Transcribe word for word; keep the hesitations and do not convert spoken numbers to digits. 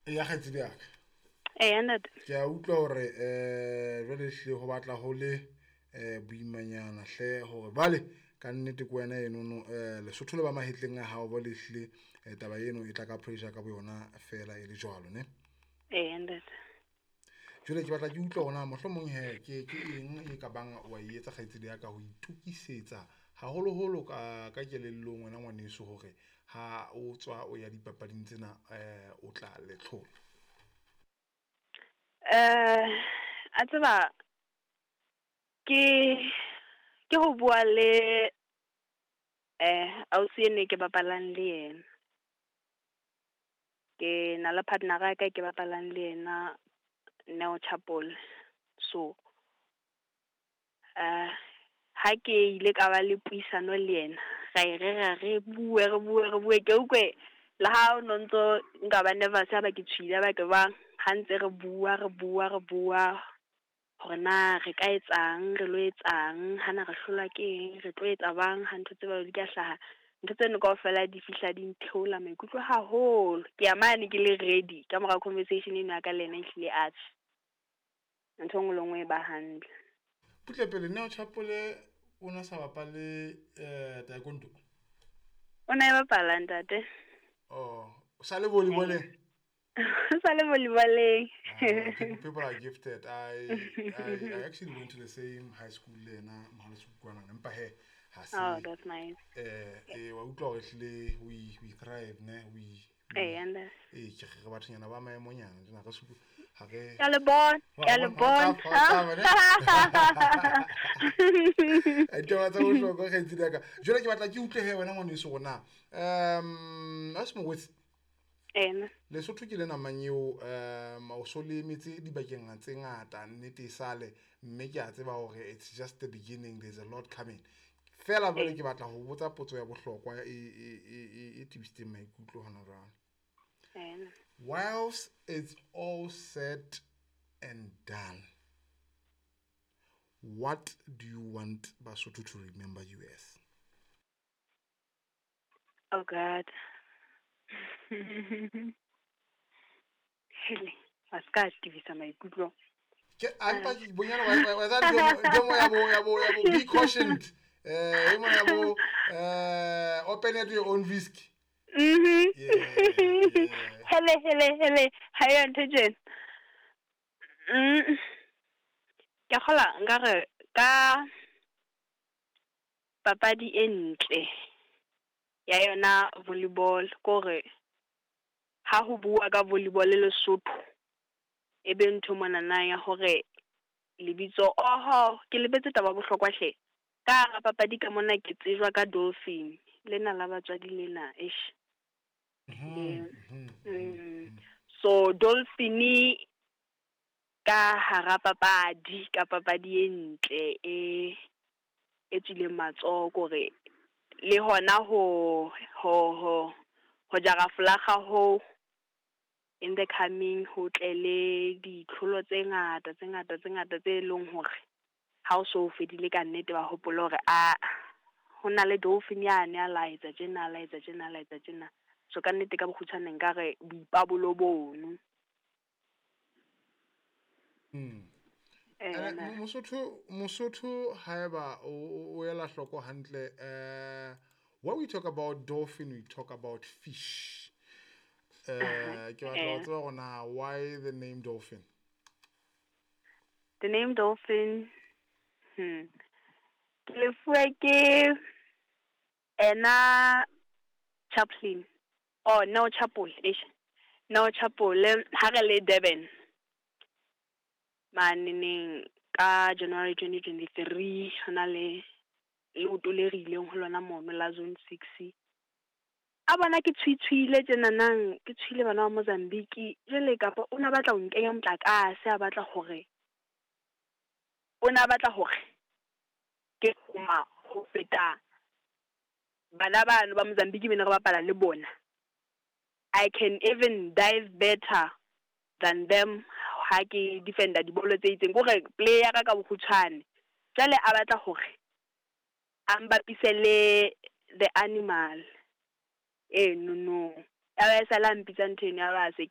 Ya kgaitsedi ya ka. Eya ntate. Ke a utlwa hore eh jwale hle ho batla ho le eh boimanyana hle hore bale ka nnete ke wena enono eh Lesotho le ba mahetleng a hao ba le hle eh, taba eno e tla ka pressure ka boyona fela e le jwalo ne. Eya ntate. Jwale ke batla ke utlwa hore na mohlomong he ke ke eng e ka bang wa e etsa kgaitsedi ya ka ho itokisetsa haholoholo ka ka kelellong wena ngwaneso hore ha o tswa o ya dipapading tsena eh o tla le tlhola. Eh a tseba ke ke ho bua le eh ausi ene ke bapalang le yena. Ke na le partner ya ka ke bapalang le yena Neo Chapole. So eh ha ke ile ka ba le puisano le yena ra e rera re bue re bue re bue ke utlwe le ha o no ntso nka ba nervous ha ba ke tshohile ha ba ke bang ha ntse re bua re bua re bua hore na re ka etsang re lo etsang hana re hlolwa ke eng re tlo etsa bang ha ntho tse jwalo di ka hlaha ntho tseno kaofela di fihla di ntheola maikutlo haholo ke ya mane ke le ready ka mora conversation eno ya ka le yena ehlile atjhe ntho e nngwe le nngwe e ba hantle. Butle pele Neo Chapole o na sa bapale eh taekwondo. O na e bapala ntate. Oh, o sa le volleyballeng? Sa le volleyballeng. Ah, people, people are gifted. I, I I actually went to the same high school le yena Mohale's Hoek kwana. Empa he ha se Oh, that's nice. eh eh wa utlwa hore hlile we we thrive ne we Eya ntate. eh ke re bathonyana ba maemonyana tjena re suku ha re Ke a le bona, ke a le bona. Ditaba tsa bohlokwa kgaitsedi ya ka. Jwale ke batla ke utlwe he wena ngwaneso hore na um a se mongwetsi Ena. Lesotho ke lena mang eo um o so le emetse dibakeng tse ngata nnete e sale mme ke a tseba hore it's just the beginning there's a lot coming fela jwale ke batla ho botsa potso ya bohlokwa e e e e tebisitseng maikutlo hona jwale Ena. whilst it's all said and done what do you want Basotho to remember you as Oh God. Hele, a ska tebisa maikutlo. ke a mpa ke bonyana wa wa tsa ntho mo ya bo ya bo ya bo be cautioned eh e mo ya bo eh open at your own risk Mhm. yeah, yeah. Hele hele hele, ha yo ntho tjena. Mm. Ke kgola nkare ka papadi e ntle ya yona volleyball kore ha ho bua ka volleyball le Lesotho e be ntho monana ya hore lebitso oho ke lebetse taba bohlokwa hle ka hara papadi ka mona ke tsejwa ka dolphin lena la batswadi lena eish Mm. so dolphin ka hara papadi ka papadi e ntle e e tswileng matsoho kore le hona ho ho ho ho jara folaga ho in the coming ho tle le ditlholo tse ngata tse ngata tse ngata tse leng hore ha o so fedile ka nnete ba hopola hore a ho na le dolphin yane a la etsa tjena a la etsa tjena a la etsa tjena so ka nnete ka bokgutshwane nkare boipabolo bono Mm. Eh, Ene, na. Mosotho Mosotho haeba o o ela hloko hantle eh when we talk about dolphin we talk about fish eh ke batla ho Eh. tseba hore na why the name dolphin The name dolphin hmm ke lefuwe ke ena Chaplin oh no Chapol eish no Chapol ha re le Durban maneneng ka January twenty twenty-three hona le leoto le re ileng ho lona mono la zone six a bona ke tshwitshwile tjenanang ke tshwile bana ba Mozambique jwale kapa o na batla ho nkenya motlakase a batla hore o na batla hore ke ma ho feta bana bano ba Mozambique bene re bapala le bona I can even dive better than them ha ke defender dibolo tse itseng kore play ya ka ka bokgutshwane jwale a batla hore a mbapise le the animal eh no no ya ba e sala mpitsa ntho eno ya ba se